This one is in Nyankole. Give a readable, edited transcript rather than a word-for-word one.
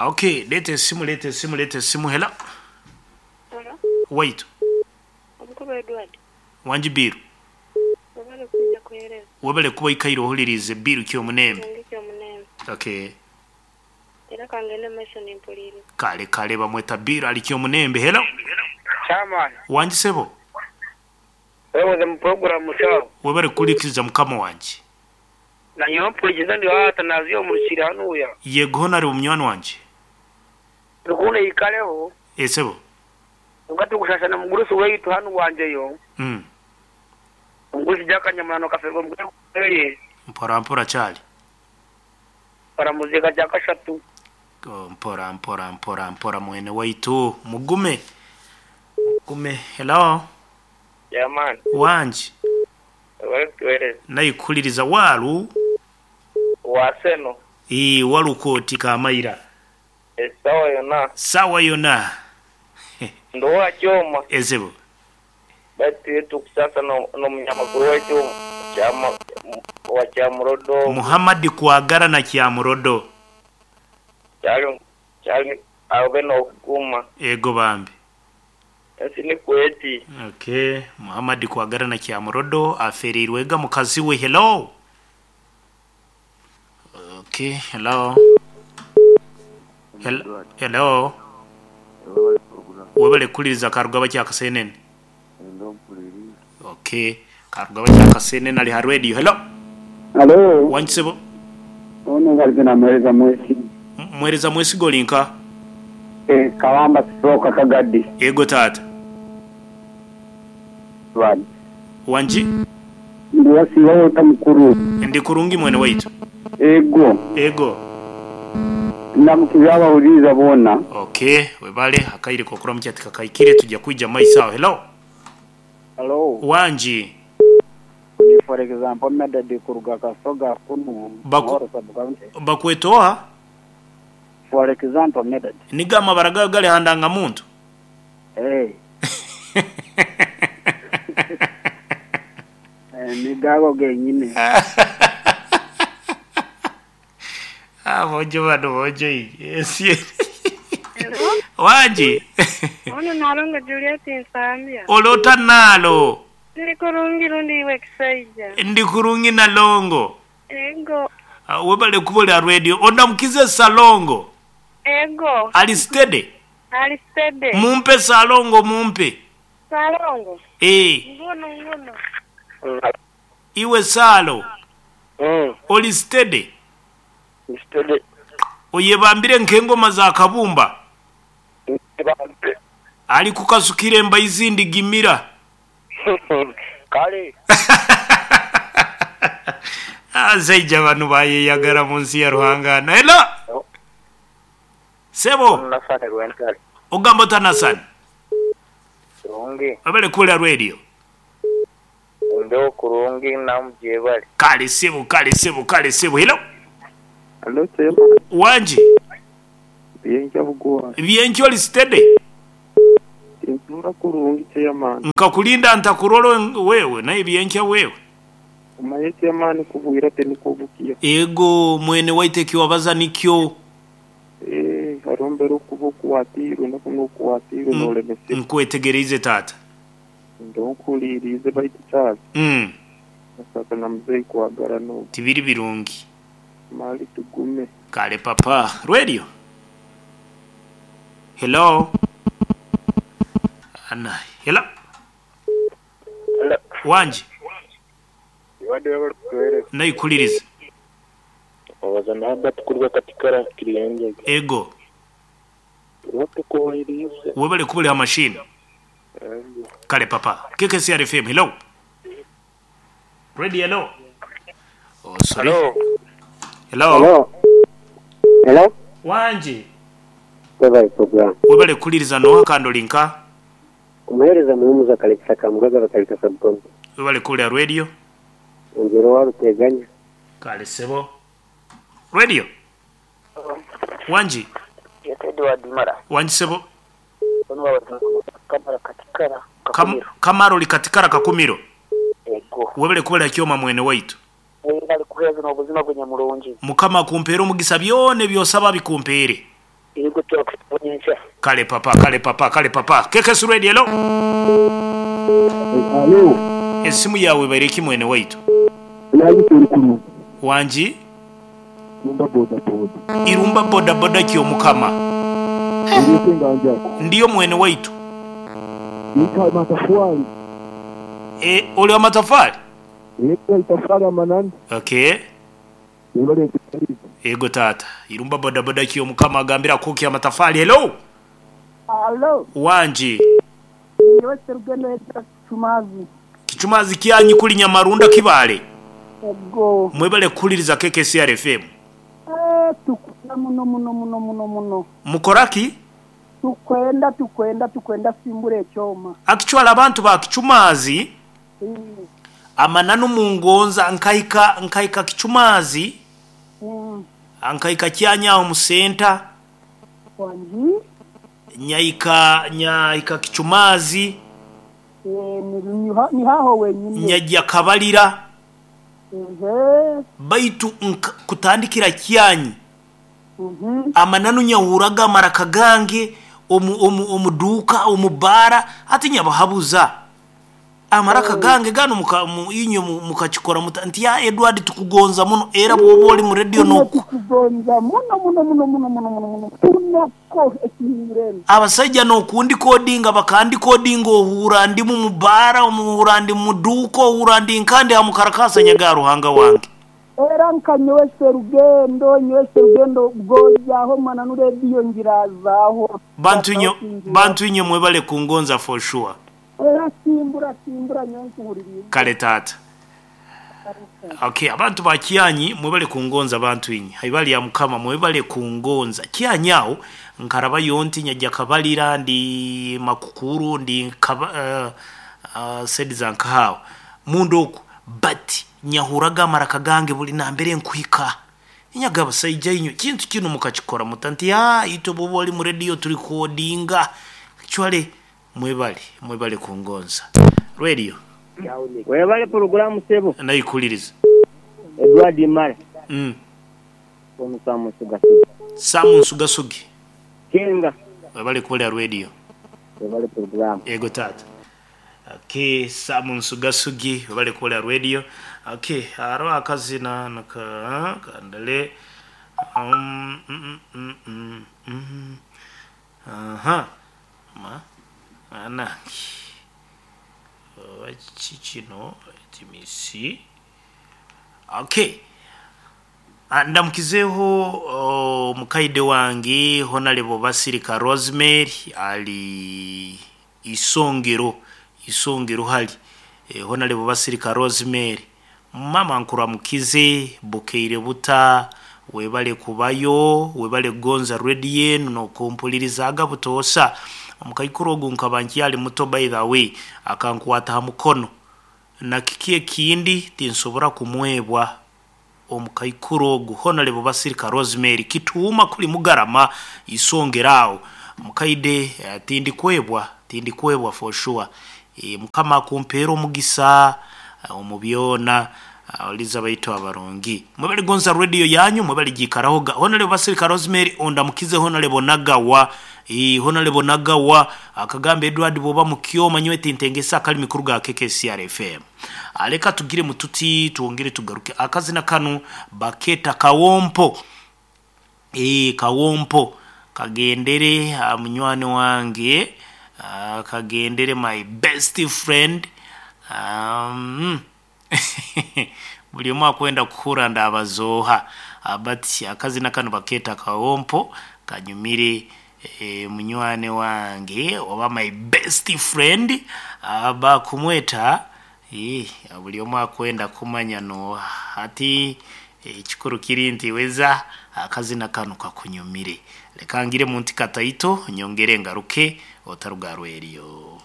Okay, leeta esimu, leeta esimu, leeta esimu. Hello. Hello. Waitu. Omukulu Edward. Wangi Bill. Webale kwija kuhereza. Webale kuba oikaire ohuliriize Bill Kyomunembe. Kirungi Kyomunembe. Okay. Era kangende mu maiso nimpuliiriza. Kale kale bamweta Bill ali Kyomunembe. Hello. Chairman. Wangi sebo. Webuze mu program musawo. Webale kuhulikiriza mukama wangye. Nanyowe mpurikize ndi aha Atanaziyo omu Rukiri hanuya. Yego hona ari munywani wangye. Rukundo eyikaleho. Ee sebo. Kwonka tikushasha na mugurusi weitu hanu wangyeyo. Omugurusi Jack Nyamunano Kafeerwa omu Gweye. Mpora mpora kyari. Baramuziika kyakashatu. Mpora mpora mpora mpora mwene waitu. Mugume. Mugume. Hello. Yeah man. Wangi. Webale kutuhereza. Naikuhuliriza walu. Wa Seno. Ii waluka oti Kamaira. Esawa yona. Sawa yona. Ndi owa Kyoma. Ezebo. Baitu itwe tukusasa n'omunyamakuru waitu owa Kyamurodo ogu. Muhammad Kwagara na Kyamurodo. Kyali kyali abe n'okuguma. Ego bambi. Ensi nikwo eti. Ok Muhammad Kwagara na Kyamurodo afereirwe ega mukazi we hello. Ok hello. Hello. Hello. Webale kuhuliriza Karugaba Kyakasenene. Ok Karugaba Kyakasenene ali ha radio. Hello. Halo. Wangi sebo. Ono ngalize na Mwereza Mwesiga. Mwereza Mwesiga oli nka? Eh, Kawamba Stroke Kagadi. Ego taata. Wangi? Ndi wasiiba ota mukuru? Ndi kurungi mwene waitu. Ego. Ego. Ndamukize abahuririza boona. Ok, webale akaire k'okuramukya tikakaikire tuja kwija mumaiso aho. Hello. Hello. Wangi. Ni for example Medard kuruga Kasoga kunu Baku Muhoro sub county. Bakweta oha? For example Medard. Nigo amabara gawe gari aha ndangamuntu? Eh. Eh, nigo ago genyine. Aboojo bano boojo inye ensi eri. Wangi. Ono Nalongo Juliet Nsambya. Oli ota Naalo? Ndi kurungi rundi iwe kisaija. Ndi kurungi Nalongo. Ego. Webale kuba oli aha radio. Ondamukize Ssalongo. Ego. Ali steady? Ali steady. Mumpe Ssalongo mumpe. Ssalongo? Eeh. Nguno nguno. Iwe Salo, oli steady? Ndi steady. Oyebambire nk'engoma za kabumba? Ali kukasukira embaizi ndigimira. Kale. Abasaija banu bayeyagara mu nsi ya Ruhanga. Hello! Sebo. Nasani Rwentare. Ogamba ota Nasani? Kurungi. Webale kuwulira radio. Ndhogho kurungi namu gyebale. Kale sebo, kale sebo, kale sebo. Hello. Hello chairman. Wangi. Byenkya bugwa. Byenkya oli steady? Tintuura kurungi chairman. Nkakulinda ntakurora wewe naye byenkya wewe. Omanye chairman kubwira tinikwo bukiya. Ego mwene waitu eki wabaza nikyo. Eeh hariho embera okuba okwatiirwe noku okwatiirwe nolemesibwa. Nkwetegereize taata. Ndoho nkuhuriiriize baitu Charles. Nasaka na muzeeyi kwagarana ogu. Tibiri birungi. Mali tugume. Kale papa. Radio. Hello. Ana. Hello. Hello. Wangi. Iwade webale kutuhereza. Naikuliriza. Obaza na Herbert kuruga Katikara Kiryandege. Ego. Tuba tukuhuriiriize. Webale kuba ori aha mashini. Ego. Kale papa. KKCR FM. Hello. Radio hello. Oh sorry. Hello. Hello. Hello. Hello. Wangi. Webale program. Webale kuhuliriza noha kandi ori nka? Omuhereza Muhumuza Kalekisa Kamugaga Bakalika Sub-County. Webale kuhurira radio. Ongyera owa Ruteganya. Kale sebo. Radio. Wangi. Yes, Edward Mara. Wangi sebo. Ono wabaza Kamara Katikara Kam, Kakumiro. Kamara ori Katikara Kakumiro. Ego. Webale kuhurira Kyoma mwene waitu. Webale kuheereza n'obuzima bwe nyamurungi. Mukama akumpeere omugisa byona ebi osaba abikumpeere. Ego twakusiima nyenkya. Kale papa, kale papa, kale papa. KKS Radio, hello. Alo. Esimu yaawe ebaire ki mwene waitu? Yayita eri kurungi. Wangi? Irumba bodaboda. Irumba bodaboda ki omukama? Ori ota enganjako? Ndiyo mwene waitu. Nka matafwali. E, oli wa matafali? Eka itafari amanani. Okay. Webale kutalika. Ego taata. Irumba bodaboda ki omukama agambira kuki amatafali. Hello. Alo, Wangi. nyowe Serugendo Edgar Kichumazi. Kichumazi kyanyi kuli Nyamarunda Kibale. Ego. Mwebale kuhuliriza KKCR FM. Eh, tukwenda muno muno muno muno muno. Mukoraki? Tukwenda tukwenda tukwenda simbura ekyoma. Actually abantu ba Kichumazi amananu mungonza nkaika nkaika Kichumazi nkaika kyanya aho mu center. Wangi. Nyaika nyaika Kichumazi. Eh, ni, ni haho wenyine. Nyajja Kabalira. Ehe. Baitu kutandikira kyanyi. Amananu nyahuraga amaraka gange omu omu omu duuka omu baara hati nyabahabuza amaraka gange ganu muka mu, inywe mukakikora muta nti ya Edward tukugonza muno era bwoba oli mu radio Inywe noku tukugonza muno muno muno muno muno muno muno tunako ekihingurene. Abasaija nokundikodinga bakandikodinga ohuura ndi mu baara omuhuura ndi mu duuka ohuura ndi nkandi aha mukarakasa nyaga Ruhanga wange. Era nka nyowe Serugendo, nyowe Serugendo bwojaho mananu radio ngirazaho. Bantu inyo, bantu inyo mwebale kungonza for sure. Era simbura simbura nyowe nkuhuririza. Kale taata. Okay, abantu ba Kyanyi mwebale kungonza bantu inyi. Haibali ya mukama mwebale kungonza. Kyanyi aho nkarabayo nti nyajja Kabalira ndi Makukuru ndi kaba, sedi za nkahawo. Mundu oku but nyahuraga amaraka gange buli nambere nkuhika. Nyaga abasaija inyo kintu kino mukakikora muta nti ya itwe bwoba oli mu radio turi kodinga. Actually mwebale, mwebale kungonza. Radio. Webale programu sebo. Naikuliriza. Edward Mara. Ono Samu Sugasugi. Samu Sugasugi. Kenga. Webale kuwulira radio. Webale programu. Ego tata. Okay, Samu Sugasugi webale kuwulira radio. Okay, hariho akazina naka kandale. Aha. Ma anangi. Kino timisi. Okay. Ndamukizeho mukaide wange Honorable Basirika Rosemary ali isongero isongero hali Honorable Basirika Rosemary mama nkuramukize bukeire buta webale kubayo webale gonza radio enu nokumpulirizaga butoosa. Omukaikuru ogu nkaba nkyali muto by the way akankwata ha mukono na kiki ekindi tinsobora kumwebwa omukaikuru ogu Honorable Basirika Rosemary kituuma kuli mugarama isongerawo mukaide tindikwebwa tindikwebwa for sure. Mukama akumpeera omugisa omu byona oliza baitu abarungi mwebale gonza radio yanyu mwebale gikarahoga. Honorable Basirika Rosemary ondamukize Honorable Nagawa Honorable Nagawa akagamba Edward boba mukyoma nyowe tintengesa akali mikuru ga KKCR FM. Aleka tugire mututi tuongere tugaruke akazina kanu baketa kawompo kawompo kagendere munywani wange kagendere my best friend buli omu akwenda kuhura ndabazoha abati akazina kanu baketa kawompo kanyumire munywani wange oba my best friend bakumweta buli omu akwenda kumanya no ati ekikuru kiri nti weza akazina kanu kakunyumire. Leka ngire munti kataito nyongere ngaruke otarugarwe eriyo.